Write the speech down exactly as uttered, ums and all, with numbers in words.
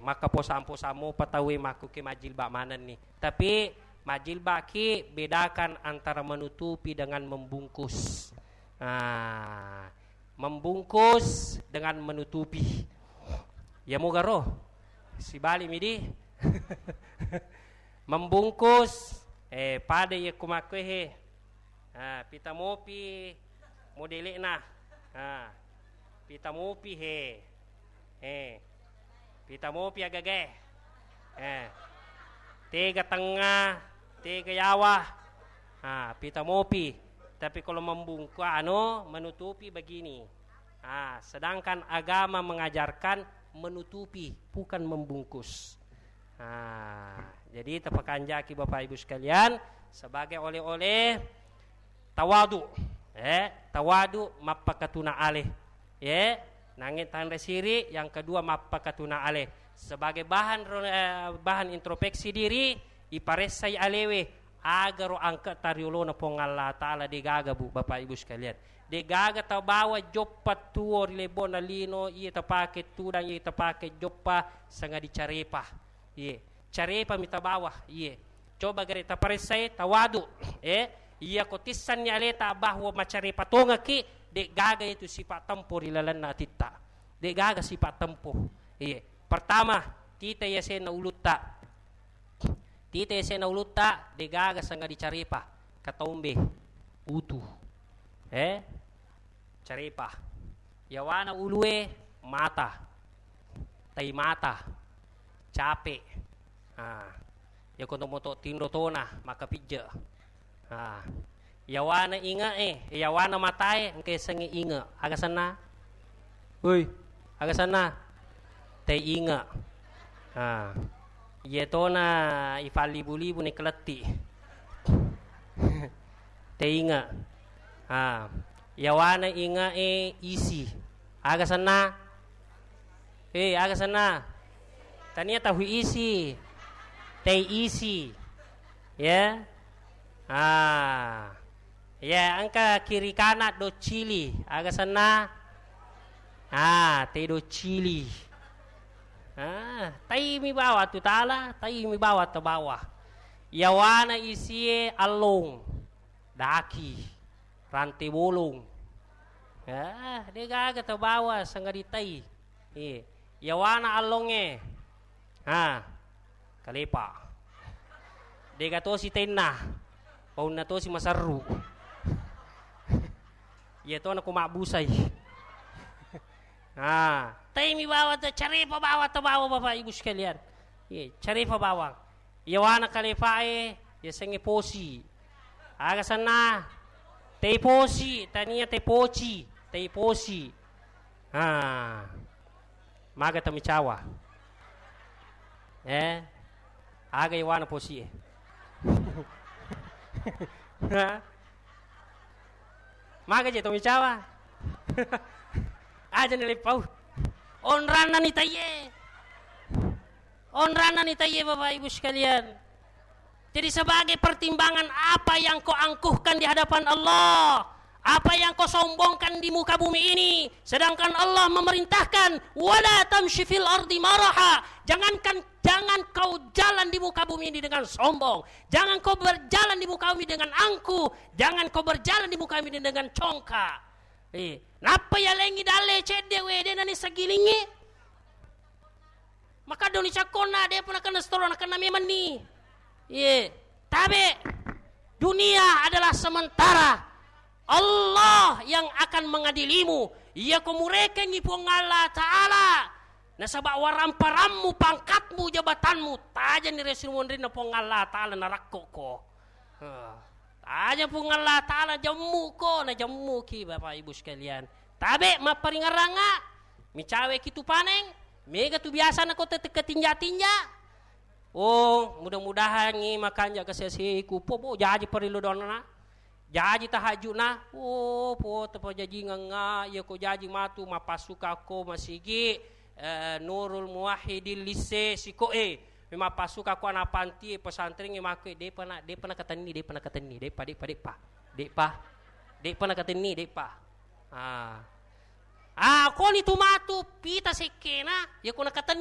Makkaposang-posang mopa tauwe makkuke majjilbab manenni. Tapi majjilbabki bedakan antara menutupi dengan membungkus. Ah, membungkus dengan menutupi. Ya mogaro. Sibalik midi. Membungkus, eh, pada iya kumakkuehe. Ah, pita mopi modele'na. Ah, pita mopi he. Eh. Pita mopi agagae. Eh. Tega tengnga, tega yawa. Ah, pita mopi. Tapi kalau membungku anu, menutupi begini. Ah, sedangkan agama mengajarkan menutupi, bukan membungkus. Ah, jadi tapakanjaki Bapak Ibu sekalian sebagai oleh-oleh tawadu, eh, tawadu mappakatuna ale, eh, nange tanre siri, yang kedua mappakatuna ale. Sebagai bahan ro-, eh, bahan introspeksi diri, iparessai alewe, agaro angke tariolona Puang Allah Ta'ala, degaga, Bu, Bapak Ibu sekalian. Degaga tabawa joppa tuo ri lebona lino, iya tapake tudang, iya tapake joppa, sanga dicarepa. Iye, carepa mita bawa, iye. Coba gare taparessai tawadu, eh, iya ko tissanni aleta bahwa macarepa tongaki, de gaga itu sifat tempo ri lalenna atitta. De gaga sifat tempo. Iye. Pertama, tita yasenna ulutta. Tita yasenna ulutta, de gaga senga dicarepa. Kataumbe, utu. Eh, carepa. Yawana ulue mata, tai mata, cape. Ah, yako to moto tinro tona, maka pijje. Ah, yawana inge e, yawana matae, engke sengi inge. Aga senna? Woi, aga senna? Tai inge. Ah, iya tona ifallibu-libu ni keletti. Teinga. Ha. Yawana inga e isi. Aga senna? Eh, aga senna? Tania tahu isi. Tei isi. Ya. Ah. Ya, engka kiri kana docili. Aga senna? Ah, tei docili. Ah, tai mi bawa tu tala, tai mi bawa tabawa. Yawana isie allong. Daki, rante bolong. Ah, de gaga tabawa sangadi tai. Iye. Yawana allongnge. Ha. Kalepa. Dega tosi tenna. Paunna tosi maserru. Iya tona ko mabbusai. Ha. Tai mi bawa ta carepa bawa tabawa Bapak Ibu sekalian. Iye, carepa bawang. Yawana kalepae, yasengnge posi. Aga senna? Tei posi, tania tei poci, tei posi. Ha. Maga tamicawa. Eh? Aga yawana posi e. Ha? Maga je tamicawa. Aja ni lepau. Onranna ni taiye. Onranna ni taiye, Bapak Ibu sekalian. Jadi, sebagai pertimbangan apa yang kau angkuhkan di hadapan Allah, apa yang kau sombongkan di muka bumi ini, sedangkan Allah memerintahkan, "Wala tamshi fil ardi maraha." Jangankan, jangan kau jalan di muka bumi ini dengan sombong. Jangan kau berjalan di muka bumi dengan angkuh. Jangan kau berjalan di muka bumi ini dengan congkak. Eh, nappa yalengi dalle cedde we, de nani sagilingi. Maka doni cakkonna, depa nakenna setoro, nakenna memanni. Iye, tabe. Dunia adalah sementara. Allah yang akan mengadilimu. Iya ko murekengi Puang Allah Ta'ala. Nasaba waramparammu, pangkatmu, jabatanmu, tajani resi monrinna Puang Allah Ta'ala, narakko ko. Heh. Aja Puang Allah Ta'ala jemmu ko, na jemmu ki, Bapak Ibu sekalian. Tabe mapparingerranga, micawe ki tu paneng, mega tu biasa na ko tette ketinja-tinja. Oh, mudah-mudahan ngi makanja kasese ku, po, po, jaji parillu donna. Jaji tahajudna. Oh, po, tapajajingengnga, iya ko jaji matu, mappasuka ko masigi, eh, Nurul Muwahhidin lisse siko e. Memang pasuka ko anak panti, pesantren e, makku, depa na, depa nakatenni, depa nakatenni, depa, depa, depa, depa, depa nakatenni, depa. Ah. Ah, koni tu matu pita sekkena, ya ko nakatenni.